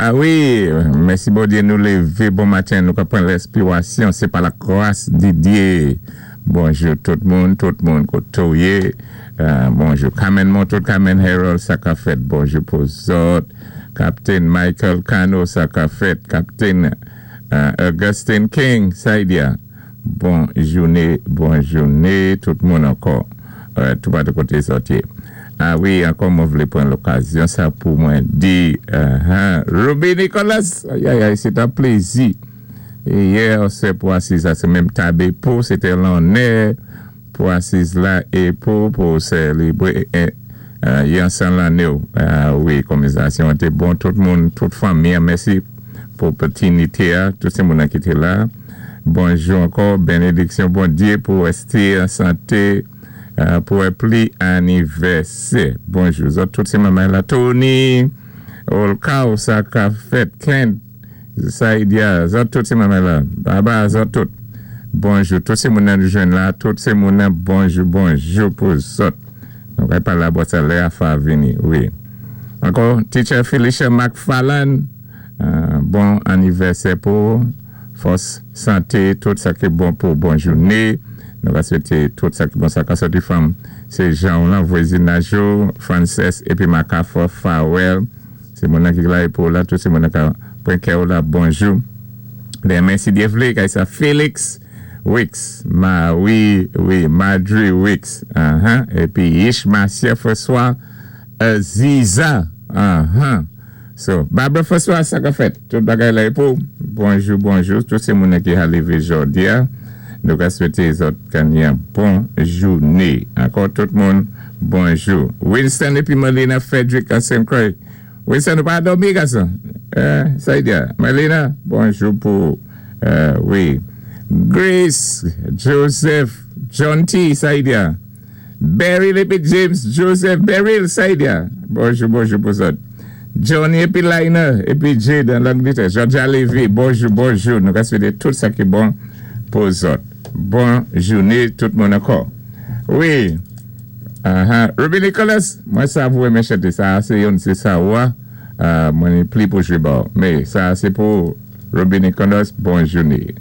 A wi, mèsi Bondyé, nou lévé bon maten, nou ka pran lèspirasyon, sé pa la gras di Dyé. Bonjou tout moun, tout moun koté ou yé. Bonjou Carmen Montour, Carmen Harold, sa ka fèt. Bonjou pou zòt. Captain Michael Cano, sa ka fèt. Captain Augustine King, Saidia. Bon jouné, bon jouné tout moun ankò. Tout patou koté zòt yé. A wi, ankò mwen vlé pran lokazyon sa pou mwen di Ruby Nicholas, ayayay, sé t an plézi. Yè sé pou asiz la, sé menm tab é pou, sé té lonnè pou asiz la é pou sèlébré yon 100 lanné ou. A wi, konvèzasyon an té bon, tout moun, tout fanmi an, mèsi pou opòtinité a, tout sé moun ki té la. Bonjou ankò, bénédiksyon Bondyé pou résté an santé pou wè pli anivèsè. Bonjou, zòt tout sé manman la. Tony, Olkaw, sa ka fèt, Kent, Saidia, zòt tout sé manman la. Baba, zòt tout. Bonjou, tout sé moun nan nou jwenn la, tout sé moun nan, bonjou, bonjou pou zòt. Nou kay palé abò sa lè a fa vini, wi. Ankò, Teacher Felicia McFarland, bon anivèsè pou fòs, santé, tout sa ki bon pou bon jouné. Nou va swété tout sa ki bon sa ka sòti fanm. Sé jan ou lan vwazinaj yo, Frances épi Macafo Farewell. Sé moun nan ki la pou la, tout sé moun nan ka pran kè ou la, bonjou. Denmen, si Dye vlé, kay sa Felix Wicks, ma wi, wi, Marjorie Wicks, épi Yish Marcia François Aziza, So, Barbara François, sa ka fèt, tout bagay la pou, bonjou, bonjou, tout sé moun nan ki ha lévé jòdi a, nou ka swété zòt kan yon bon jouné. Ankò tout moun, bonjou. Winston épi Melina Frederick an St. Croix. Winston, ou pa dòmi, gason? Sa y di a? Melina, bonjou pou, wi. Grace, Joseph, John T, sa y di a? Beryl épi James, Joseph, Beryl, sa y di a? Bonjou, bonjou pou zòt. Johnny épi Liner, épi Jade an Langletè. Georgia Levy, bonjou, bonjou. Nou ka swété tout sa ki bon pou zòt. Bon jouné tout moun ankò. Wi. Ruby Nicholas, mwen sav ou renmen chanté sa, sé youn sé sa ou a, mwen ni pli pou jwé ba ou. Mé sa sé pou Ruby Nicholas, bon jouné.